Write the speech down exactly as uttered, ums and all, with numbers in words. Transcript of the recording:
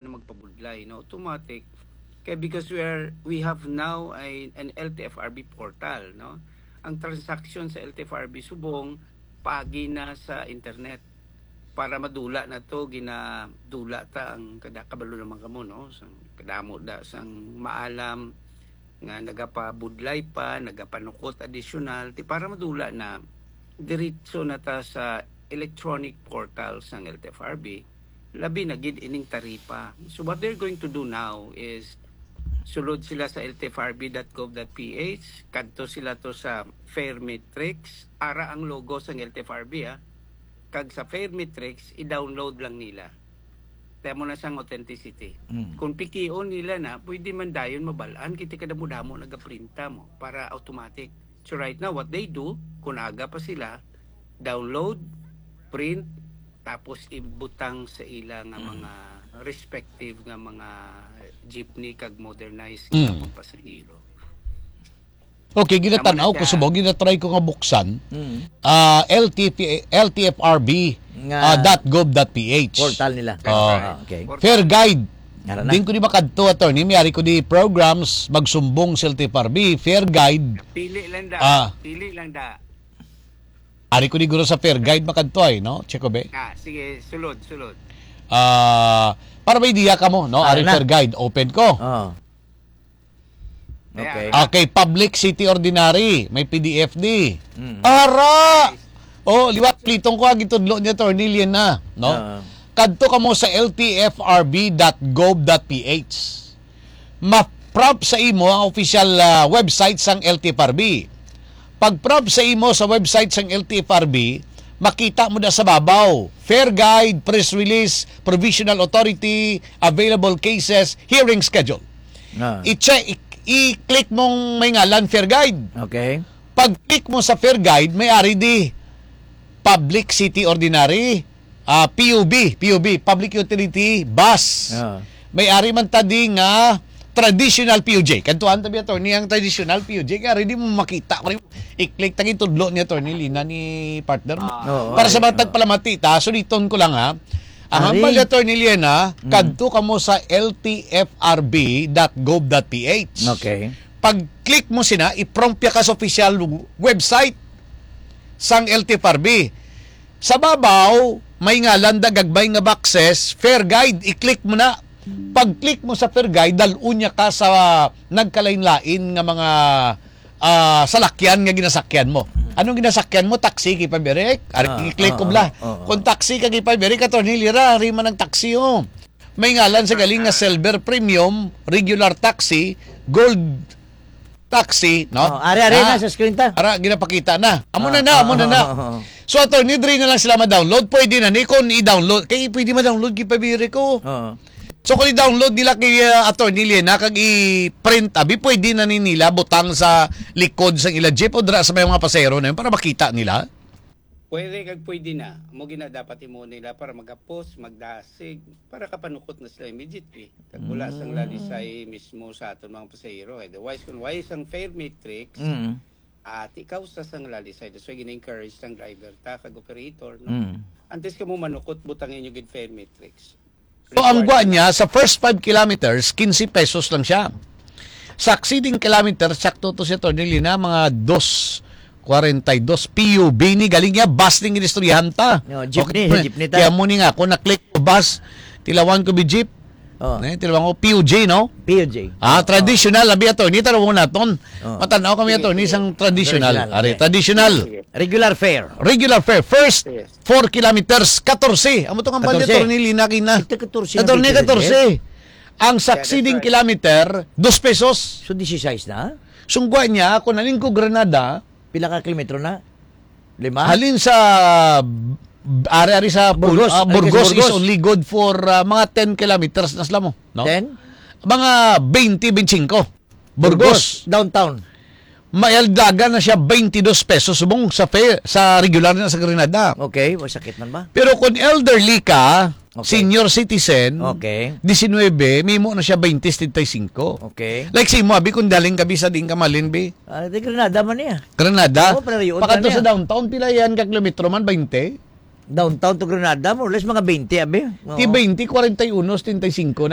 na magpabudlay, no? Automatic. Kaya because we are, we have now a, an L T F R B portal, no? Ang transaction sa L T F R B subong, pagi na sa internet. Para madula na to, ginadula ta ang kada, kabalo naman kamo, no? Sang kadamo da, sang maalam nga nagapabudlay pa, nagapanukot additional, ti para madula na, diretso na ta sa electronic portal sang L T F R B, labi na gid ining taripa. So what they're going to do now is, sulod sila sa L T F R B dot gov dot P H, kadto sila to sa Fare Matrix, ara ang logo sang L T F R B, ah. Kag sa Fare Matrix, i-download lang nila. Kaya mo na sang authenticity. Mm. Kung pikion nila na, pwede man dayon mabal-an, kay kadamo-damo nagaprinta mo para automatic. So right now, what they do, kung aga pa sila, download, print, tapos ibutang sa ila nga Mm. mga respective nga mga jeepney kag modernized Mm. nga mga pasahero. Okay, ginatan-aw ko subong, ginatry ko nga buksan. Mm. Ah, L T P, L T F R B, Nga ah, dot gov dot P H. Portal nila. Ah. Ah, okay. Portal. Fare Guide. Ara na. Din ko di makadto, attorney. May ari ko di programs, magsumbong sa L T F R B. Fare Guide. Pili lang da. Ah. Pili lang da. Ari ko di guro sa Fare Guide makadto ay, no? Check ko, be. Ah, sige, sulod, sulod. Ah, para may idea ka mo, no? Ari Ara na. Fare Guide, open ko. Oh. Okay. Ah, kay Public City Ordinary, may P D F D. Mm. Ara! Oh, liwat plitong ko ang gitudlo ni Attorney Liena, no? Oo. Kadto kamo sa L T F R B dot gov dot P H. Ma-prompt sa imo ang official, ah, website sang L T F R B. Pag-prompt sa imo sa website sang L T F R B, makita mo na sa babaw, Fare Guide, press release, provisional authority, available cases, hearing schedule. Ah. I-check, i- i-click mong may ngalan, Fare Guide. Okay. Pag-click mo sa Fare Guide, may ari di Public City Ordinary, ah, P U B, P U B, Public Utility Bus. Ah. May ari man ta di nga traditional P U J. Kadtuan ta bi, attorney, ang traditional P U J. Kaya ari di mo makita. I-click ta gitudlo ni Attorney Liena ni partner mo. Ah. Oo, Para sa ay, mga oo. tagpalamati ta, suliton ko lang ha. Ang Ari. hambal ni Attorney Liena, Mm. kadto kamo sa L T F R B dot gov dot P H. Okay. Pag-click mo sina, i-prompt ya ka sa official website sang L T F R B. Sa babaw, may ngalan da gagbay nga boxes, Fare Guide, i-click mo na. Pag-click mo sa Fare Guide, dal-on niya ka sa nagkalain-lain nga mga, ah, salakyan nga ginasakyan mo. Anong ginasakyan mo? Taxi, kay Pabirek? Ari, Ah, i-click ko ah, bla. ah, ah, ah. Kung taxi ka, kay Pabirek, Attorney Liena, ari man ang taxi, oh. May ngalan sa galing nga Ah. silver premium, regular taxi, gold taxi, no? Oh, ari, ari Ah, na sa screen ta. Ara, ginapakita na. Amo na Ah, na, ah, amo na ah, na. ah, ah. So, attorney, diri na lang sila ma-download. Pwede na ni kung i-download. Kay pwede ma-download, kay Pabirek, oh. Oo. So, kung i-download nila kay, uh, Attorney Liena, kag i-print, abi, pwede na ni nila butang sa likod sang ila jeep o dira sa may mga pasahero na yun para makita nila. Pwede kag pwede na. Amo gina dapat imo nila para magapos, magdasig, para kapanukot na sila immediately. Kag wala sang Mm. lalisay mismo sa aton mga pasahero. Otherwise, kung why sang fare matrix, Mm. at ikaw sa sang lalisay. That's why gina-encourage sang driver ta kag operator, no? Mm. Antes ka mo manukot, butang inyo gid fare matrix. So, ang gwa niya, sa first five kilometers, quince pesos lang siya. Sa exceeding kilometers, sakto to siya, Attorney Liena, mga dos kwarenta y dos P U B ni, galing niya, bus ning inistoryahan ta. No, jeepney, Okay. jeepney ta. Kaya mo ni nga, kung na-click ko bus, tilawan ko bi jeep. Oh. Eh, tilawan ko P U J, no? P U J. Ah, Oh, traditional, abi, attorney, tanawon naton. Oh. Matanaw kami, Sige, attorney, sige. isang traditional. Traditional, Ari, okay. traditional. Sige. Regular fare. Regular fare. First Yes. four kilometers, katorse. Amo to nga bali, Katorse. Attorney Liena, kina. Ito, katorse na Attorney, bigyan katorse. niya. Ang Kaya succeeding that's right. kilometer, dos pesos. So, disisais na? Sungguan niya, ako naling ko Granada. Pila ka kilometro na? Lima? Halin sa, ari-ari sa Pul-, Burgos. ah, Halin ka sa Burgos is Burgos. only good for, ah, mga ten kilometers na sila mo, no? Ten? Mga twenty, twenty-five. Burgos. Burgos, downtown. Maildagan na siya twenty-dos pesos subong sa fare, sa regular na sa Granada. Okay, wa sakit man ba? Pero kung elderly ka, Okay. senior citizen, Okay. diecinuebe, mimo na siya twenty, setenta y cinco. Okay. Like si mo, abi, kung daling ka, bi, sa diin ka malin, bi? Ah, di Granada man niya. Granada? Oo, pero yun Pakadto na sa niya. downtown, pila yan ka kilometro man? Twenty? Downtown to Granada, more or less mga twenty, abi. Oo. Ti twenty, forty-one, setenta y cinco na.